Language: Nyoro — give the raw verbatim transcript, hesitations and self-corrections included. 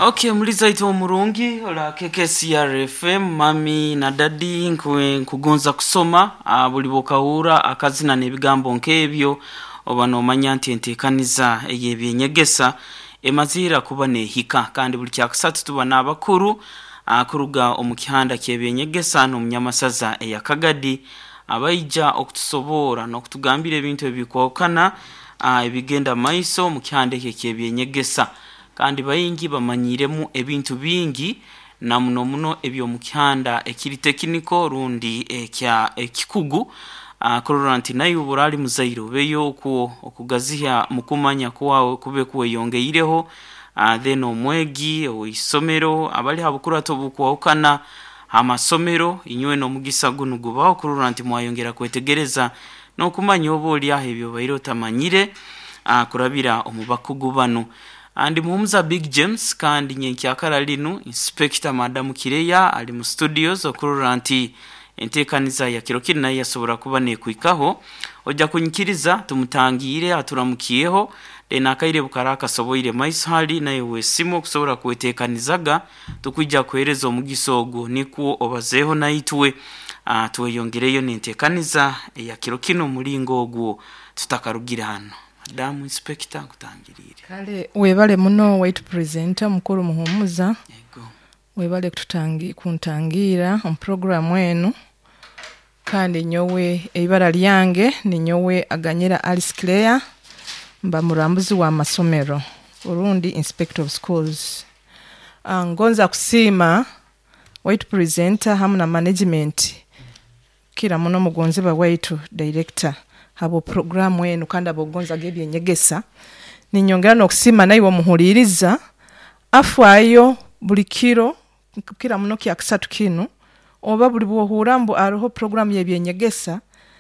Okay, muliza itu omurungi ola K K C R F M, mami na dadi, nkwe nkugonza kusoma. uh, buli bwokahura akazina n'ebigambo nk'ebyo, oba nomanya nti enteekaniza ey'ebyenyegesa emazira kuba nehika. Kandi buli kyakusatu tuba n'abakuru uh, kuruga omu kihanda ky'ebyenyegesa n'omunyamasaza eyakagadi, abaija okutusoboora n'okutugambira ebintu ebikwahukana uh, ebigenda maiso mu kihanda ekyo eky'ebyenyegesa. Kandi baingi bamanyiremu ebintu bingi, na muno muno eby'omu kihanda ekiri technical rundi ekya ekikugu, uh, kurora nti naye obu ali muzaire obeyo okwo okugaziha mukumanya kwawe kube kweyongeireho. uh, then omwegi owisomero abali ha bukurato obukwahukana amasomero, inywe n'omugisa gunu gubaho kurora nti mwayongera kwetegereza n'okumanya oba oli aho ebyo obaire otamanyire uh, kurabira omu bakugu banu. Andi Muhumuza Big James, kandi nyenkyakara linu Inspector Madamu Kireya ali mu studios okurora nti enteekaniza ya kiro kinu nayo yasobora kuba nekwikaho. Ojja kunyikiriza tumutangiire, aturamukiyeho, then akaire bukara akasoboire maiso hali naye wesimu okusobora kweteekanizaga, tukwija kuheereza omugisa ogwo nikwo obazeeho naitwe, uh, tweyongereyo n'enteekaniza eya kiro kinu omulingo ogwo tutakarugire hano. Madamu Inspector, nkutangiriire. Kale webale muno, waitu presenter mukuru Muhumuza. Yego. Webale kututangi kuntangira omu programu enu. Kandi nyowe eibara lyange ninyowe Aganyira Alice Claire, mba murambuzi wa masomero orundi inspector of schools. uh, ngonza kusiima waitu presenter hamu na management, kira muno mugonzebwa waitu director, habwo programu enu kandi abogonzaga ebyenyegesa. Ninyongera n'okusiima naiwe omuhuliiriza afaayo buli kiro, kira muno kyakusatu kinu, oba buli bwohuura mbu aroho programu y'ebyenyegesa.